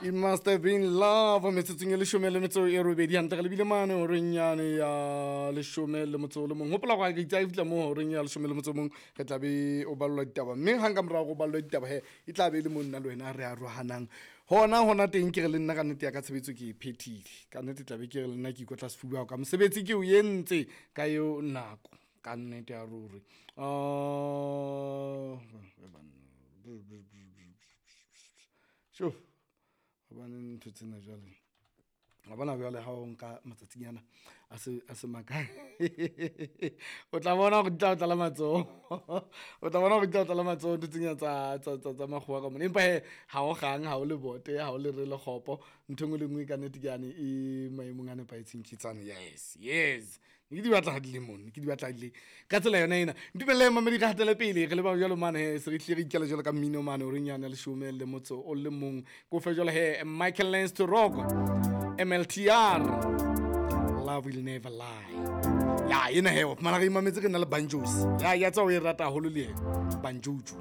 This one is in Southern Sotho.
It must have been love metsotsong e leshome le metso e robedi hantle re lebile mane horeng yane ya leshome le motso o le mong. Hopola gore ke itse ha e fihla moo horeng ya leshome le motso o mong re tla be o ballwa ditaba, mme hang ka morao go ballwa ditaba he e tla be e le mo nna le wena re arohanang hona hona teng. Ke re le nna ka nnete ya ka tshebetso ke e phethile ka nnete, tla be ke re le nna ke ikotla sefuba ka mosebetsi ke o entse ka eo nako ka nnete ya ruri. Sure, hobane ntho tsena jwale wa bona jwale ha o nka matsatsinyana a se makae, o tla bona hore di tla o tlala matsoho, o tla bona hore di tla o tlala matsoho ntho tsena tsa makgowa ka mona. Empa hee ha o kgang, ha o le bote, ha o le re le kgopo, ntho e nngwe le nngwe ka nnete ke yane e maemong a nepahetseng ke tsane. Yes, yes, ne ke di batla ha di le mono, ke di batla di le ka tsela yona ena. Ntumelle mamedi re hatele pele re leba jwalo mane he se re hlile re ikela jwalo ka mmino mane horeng yane ya leshome le motso o le mong. Ko fe jwalo he Michael Lance to Rock, MLTR, Love Will Never Lie. Ya ena he wa fumana re imametse re na le banjos ya ya tsa o e rata haholo le yena banjojo.